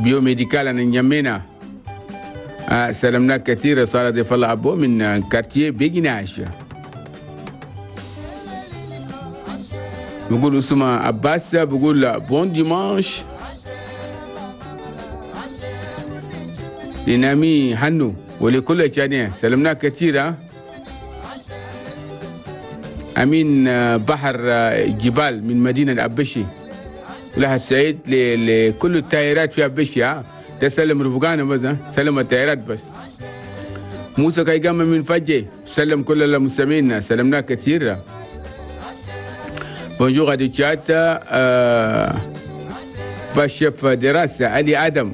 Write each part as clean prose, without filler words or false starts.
biomédical هنا انجمينا. سلمنا كثير صالح ضيف الله أبو من quartier Béguinage. بقول اسمه عباس، بقول bon dimanche لنامي هنو ولكل جانيه. سلمنا كثير. أمين بحر جبال من مدينة أبشي، ولها سعيد لكل التايرات في أبشي. ده سلم رفقانا بس، سلم التايرات بس. موسى كايقام من فجي، سلم كل المستمعين، سلمنا كثير. bonjour راديو تشاد، باشف دراسة علي آدم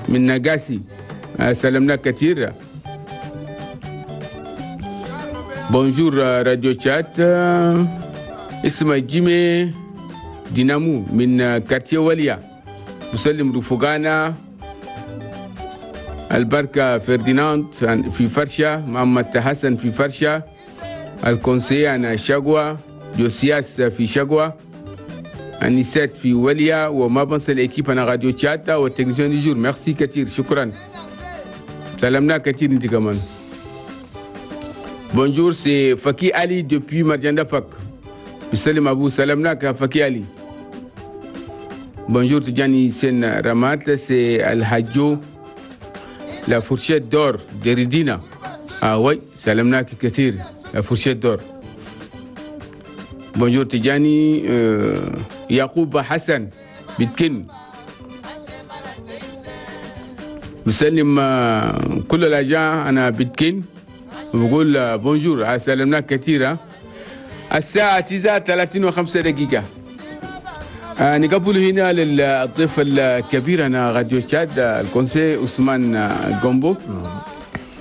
من نقاسي، سلمنا كثير. bonjour راديو تشاد، اسمه جيمي دينامو من quartier وليا، مسلم رفقانا البركة فرديناند في فرشة، محمد حسن في فرشة، ال conseiller أنا شقوة، جوسياس في شقوة، أنيسات في وليا، وما بنسى ال équipe أنا راديو تشاتا وال technicien du jour. merci كثير، شكرا، سلمنا كثير انت كمان. bonjour c'est فكي علي depuis مرجان فك، بسلم أبو، سلمناك فكي علي. bonjour تجاني سن رمات، c'est الحجو la fourchette d'or دريدينا. Oui سلمناك كثير la fourchette d'or. bonjour تجاني يعقوب حسن بتكن، بسلم كل الأجاء أنا بتكن وبقول bonjour، سلمناك كثير. الساعة 9:35. نقبل هنا للضيف الكبير أنا راديو تشاد ال conseiller عثمان جومبو.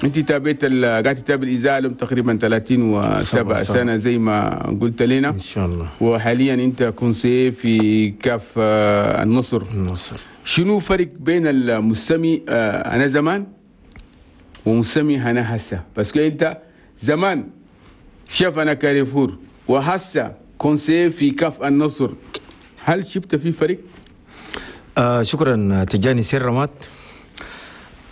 انت تابعت قاعد تتابع الاذاعة لهم تقريبا 37 سنة زي ما قلت لنا ان شاء الله، وحاليا انت conseiller في CAF النصر. النصر شنو فرق بين المستمع انا زمان ومستمع انا هسه؟ بس انت زمان شاف انا كاريفور وهسه conseiller في CAF النصر، هل شفت في فرق؟ شكرا تجاني سير رمات.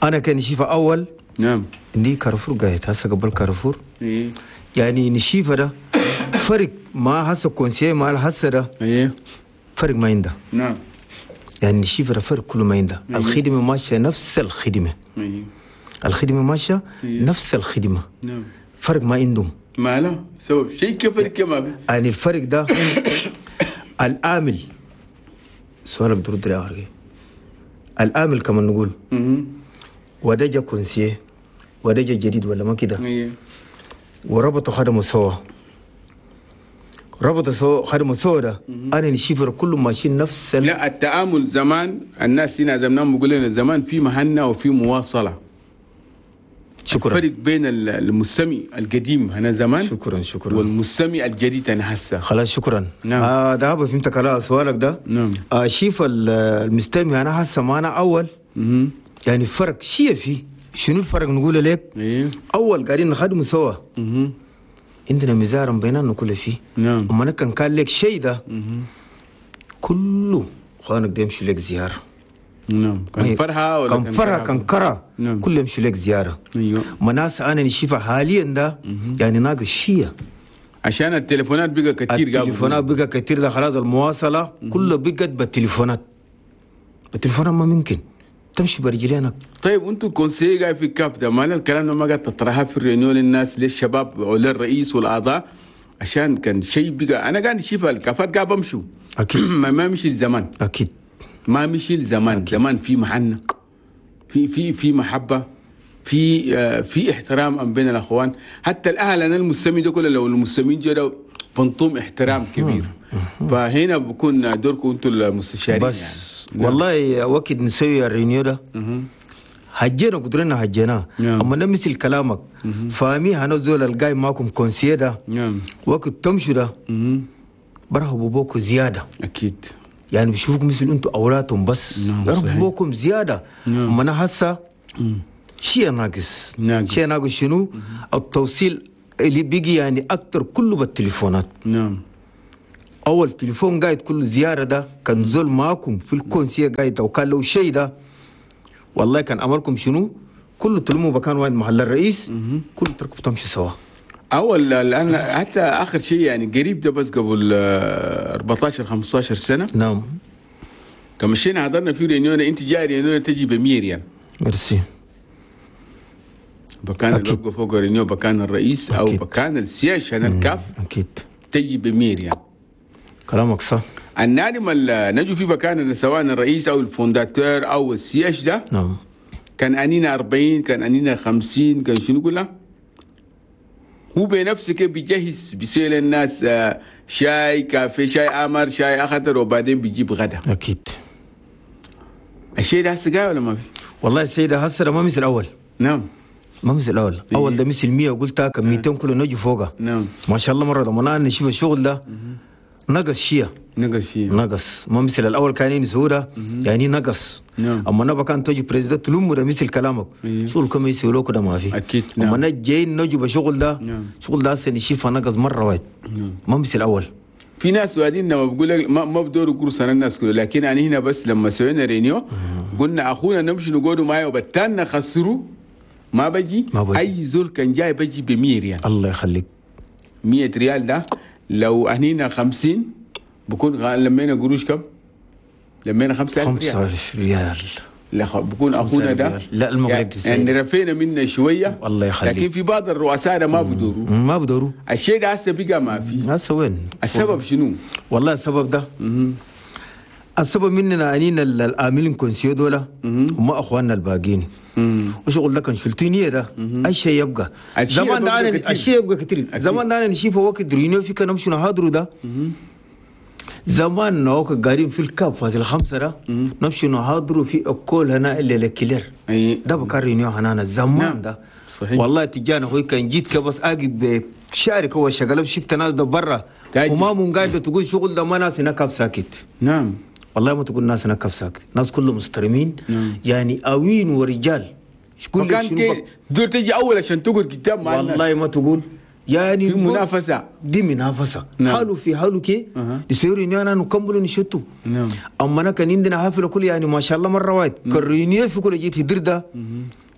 انا كان شيفة اول، نعم، عندي كارفور قاعد هسه قبل كارفور. إيه. يعني نشيفه ده فرق ما هسه conseiller ما هسه ده. إيه. فرق ما عنده. نعم. يعني نشيفه ده فرق كله ما عنده. إيه. الخدمة ماشية نفس الخدمة. إيه. الخدمة ماشية. إيه. نفس الخدمة. نعم. فرق ما عندهم. ما لا سبب شيء كفرق كما يعني الفرق ده العامل سؤال بترد لي العامل كمان نقول وده جا conseiller وده جا جديد ولا ما كده. وربطوا خدموا سوا، ربطوا سوا خدموا سوا ده انا نشيفر كله ماشيين نفس لا التعامل زمان الناس هنا زمان بيقول لنا زمان في مهنة وفي مواصلة. شكرا. الفرق بين المستمع القديم هنا زمان، شكرا شكرا، والمستمع الجديد انا هسه. خلاص شكرا. نعم. ده فهمتك على سؤالك ده. نعم. شيف المستمع انا هسه ما انا اول. يعني فرق شيء فيه. شنو الفرق نقول لك؟ إيه؟ اول قاعدين نخدم سوا. عندنا مزار بيننا كل فيه. نعم. اما كان لك شيء ده كله خوانك ده يمشي لك زيارة. نعم. كان فرحه ولا كان فرحه كان كره. نعم. كله يمشي لك زيارة. ايوه. مناس انا نشوفها حاليا ده يعني ناقص شيء عشان التليفونات بقى كثير. التليفونات بقى كثير ده خلاص المواصلة كله بقت بالتليفونات. التليفونات ما ممكن تمشي برجلينك. طيب وانتم conseiller قاعد في ال CAF ده، ما الكلام ده ما قاعد تطرحها في ال réunion للناس للشباب وللرئيس والاعضاء؟ عشان كان شيء بقى انا قاعد نشوف الكافات قاعد بمشوا اكيد. ما مشي الزمان. اكيد ما مشي الزمان. أكيد. زمان في محنة، في في في محبة، في في احترام بين الاخوان، حتى الاهل. انا المستمعين ده كله لو المستمعين جروا بنطوم احترام كبير. فهنا بكون دوركم انتم المستشارين بس يعني. والله وقت نسوي ال réunion ده هجينا قدرنا هجينا. اما نمثل كلامك فاهمي هنزول الجاي معكم conseiller ده. وقت تمشوا ده برهبوا بوكو زيادة. اكيد. يعني بيشوفوك مثل انتم اولادهم بس. يرهبوا بوكم زيادة. اما انا هسه شيء ناقص. شيء ناقص شنو؟ التوصيل اللي بيجي يعني اكثر كله بالتليفونات. نعم. اول تليفون قاعد كل زيارة ده كان زول معاكم في ال conseil قاعد او كان لو شيء ده والله كان امركم شنو كله تلموا بكان واحد محل الرئيس كله تركبوا تمشوا سوا. اول الان حتى اخر شيء يعني قريب ده بس قبل 14 15 سنة. نعم. كمشينا حضرنا في réunion، انت جاي réunion تجي ب 100 ريال. ميرسي. بكان اللي بقى فوق réunion بكان الرئيس او أكيد. بكان ال siège هنا ال CAF اكيد تجي ب 100 ريال. كلامك صح. النادم اللي نجوا في بكان سواء الرئيس او ال fondateur او ال siège ده. نعم. كان انينا 40 كان انينا 50 كان شنو كلها هو بنفسه كيف بيجهز بيسأل الناس شاي كافيه شاي أمر شاي أخضر وبعدين بيجيب غدا. أكيد. الشيء ده هسه جاي ولا ما في؟ والله الشيء ده هسه ما مثل الأول. نعم. ما مثل الأول، أول ده مثل 100 وقلتها كم 200 كله نجي فوقها. نعم. ما شاء الله مرة لما نشوف الشغل ده نقص شيء. نقص شيء. نقص، ما مثل الأول كان سهولة يعني نقص. نعم. أما نبقى كان تجي président تلوم ده مثل كلامك. شغل كم يسوي ده ما في. أكيد. نعم. أما جايين نجي بشغل ده. نعم. شغل ده هسه نشوفه نقص مرة واحد. نعم. ما مثل الأول. في ناس وادين لما بقول لك ما بدوروا كورس انا الناس كله، لكن انا هنا بس لما سوينا réunion قلنا اخونا نمشي نقعدوا معي وبتانا خسروا ما بجي. اي زول كان جاي بجي ب 100 ريال. الله يخليك. 100 ريال ده لو اهنينا 50 بكون لمينا قروش كم؟ لمينا 5000 ريال. 5000 ريال. لا بكون اخونا ده لا المغرب يعني رفينا منا شوية. الله يخليك. لكن في بعض الرؤساء ما بدوروا. ما بدوروا. الشيء ده هسه بقى ما في. هسه وين؟ السبب شنو؟ والله السبب ده السبب مننا انينا العاملين conseil دولا هم اخواننا الباقيين. وشغل ده كان شلتينيه ده اي شيء يبقى زمان ده انا الشيء يبقى كثير. زمان ده انا نشوفه وقت réunion في كان نمشي نحضروا ده زمان وقت قاعدين في ال CAF فاصل 5 ده نمشي نحضروا في école هنا اللي الكلير ده بكار réunion هنا زمان. نعم. ده صحيح. والله تجانا هو كان جيت كبس اجي بشارك هو شغله شفت ناس ده برا وما من قاعدة تقول شغل ده ما ناس هناك ساكت. نعم. والله ما تقول ناس هناك ساكت، ناس كلهم مسترمين. نعم. يعني اوين ورجال كل شنو دور تجي اول عشان تقول قدام مع الناس. والله ما تقول يعني في منافسه دي منافسه. نعم. حاله في حاله كي يصيروا اني انا نكملوا نشتو. نعم. اما انا كان عندنا حفلة كل يعني ما شاء الله مرة واحد. كال réunion في كل جيت درده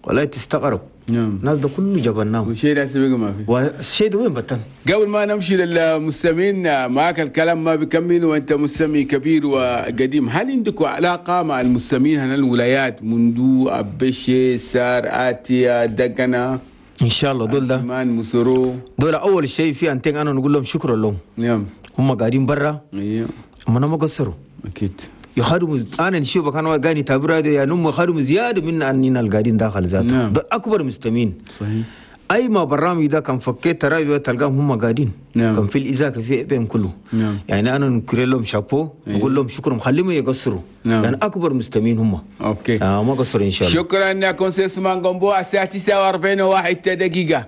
والله تستغرب. نعم. الناس ده كله جبناه والشيء ده سبق ما في والشيء ده وين بطن. قبل ما نمشي للمستمعين معك الكلام ما بيكمل وانت مستمع كبير وقديم، هل عندك علاقة مع المستمعين هنا الولايات منذ ابشي سار اتيا دقنا؟ ان شاء الله دول ده مسرو دول اول شيء في انتين انا نقول لهم شكرا لهم. نعم. هم قاعدين برا. ايوه. هم انا ما قصروا. اكيد. يخدموا انا نشوف كانوا قاعدين يتابعوا يا نم يخدموا زيادة من اننا القاعدين داخل ذاته. نعم. ده اكبر مستمعين. صحيح. اي ما برنامج ده كان فكيت راديو تلقاهم هم قاعدين. نعم. كان في الاذاعة في بهم كله. نعم. يعني انا نكرر لهم شابو. أيوه. نقول لهم شكرا خليهم يقصروا. نعم. يعني اكبر مستمعين هم. okay. ما قصروا ان شاء الله. شكرا يا conseiller عثمان غومبو. الساعة 49 دقيقة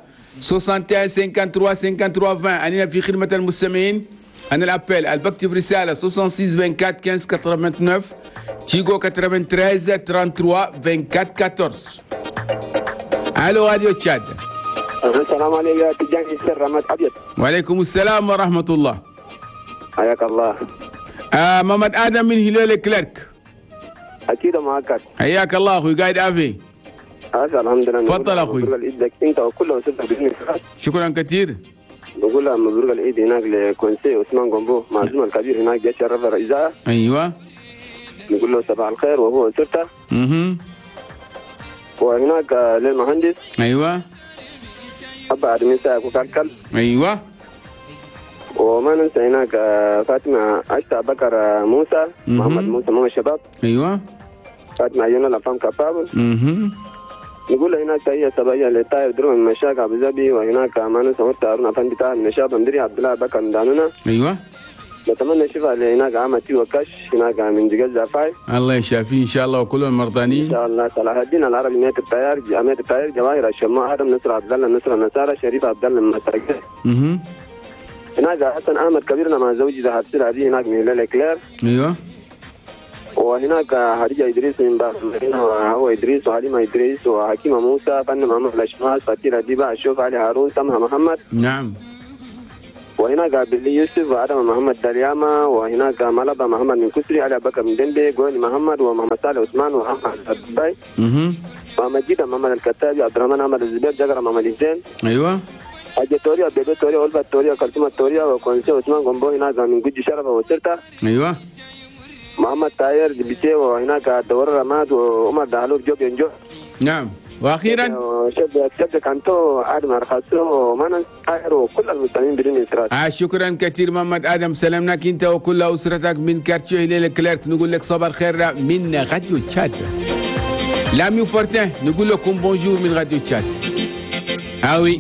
61 53 53 20 أنا في خدمة المستمعين. أنا ال appel البكتب رسالة 66 24 15 89 تيغو 93 33 24 14. الو راديو تشاد. السلام عليكم يا تجاني السر رماد ابيض. وعليكم السلام ورحمة الله. حياك الله. محمد ادم من هلال كليرك. اكيد معك. حياك الله اخوي قاعد افي. الحمد لله. تفضل اخوي. مبروك العيد انت وكل وسبب باذن الله. شكرا كثير. بقول لها مبروك العيد هناك ل conseiller عثمان جومبو معزوم الكبير هناك جاي شرف الإذاعة. ايوه. نقول له صباح الخير وهو اسرته. وهناك للمهندس. ايوه. أبا أدمي سايق وكالكل. ايوه. وما ننسى هناك فاطمة عشتا بكر موسى. محمد موسى مو الشباب. ايوه. فاطمة عيون الأفهام كفابل. نقول هناك تحية صباحية لطاير درو من مشاك أبو ظبي، وهناك ما ننسى مرت هارون أفندي طاهر من شاب مدري عبد الله بكر من دانونا. ايوه. نتمنى الشفاء لهناك عمتي وكش هناك من جزء زافاي. الله يشافيه ان شاء الله وكل المرضانين ان شاء الله. صلاح الدين العربي ميت الطيار ميت الطيار جواهر الشماء ادم نصر عبد الله نصر النصارى شريف عبد الله المساجد. هناك حسن احمد كبيرنا مع زوجي ذهب سلعدي هناك من هلال كلير. ايوه. وهناك خديجة ادريس من باب المدينة وهو ادريس وحليمه ادريس وحكيمه موسى فن محمد الاشماس فاتيره ديبا الشوف علي هارون سمها محمد. نعم. وهناك بلي يوسف وادم محمد دلياما، وهناك ملبا محمد من كسري، علي بكر من دنبي، جوني محمد، ومحمد صالح عثمان، ومحمد الدبي، ومجيد محمد الكتابي، عبد الرحمن احمد الزبير، جقر محمد حسين، ايوه أجي توريا، بيبي توريا، أولفا توريا، كلثوم توريا، وكونسي عثمان غومبو هناك من جوجي شرفة وسرتا، ايوه محمد تاير دبيتي، وهناك دور رماد، وعمر دهلوب جوب ينجو. نعم، واخيرا شد كانتو ادم ارخصو ومانا تاير وكل المستمعين بدون انفراد. شكرا كثير محمد ادم، سلامناك انت وكل اسرتك من quartier هلال كليرك. نقول لك صباح الخير من راديو تشاد. لامي فورتين نقول لكم bonjour من راديو تشاد. Ah oui.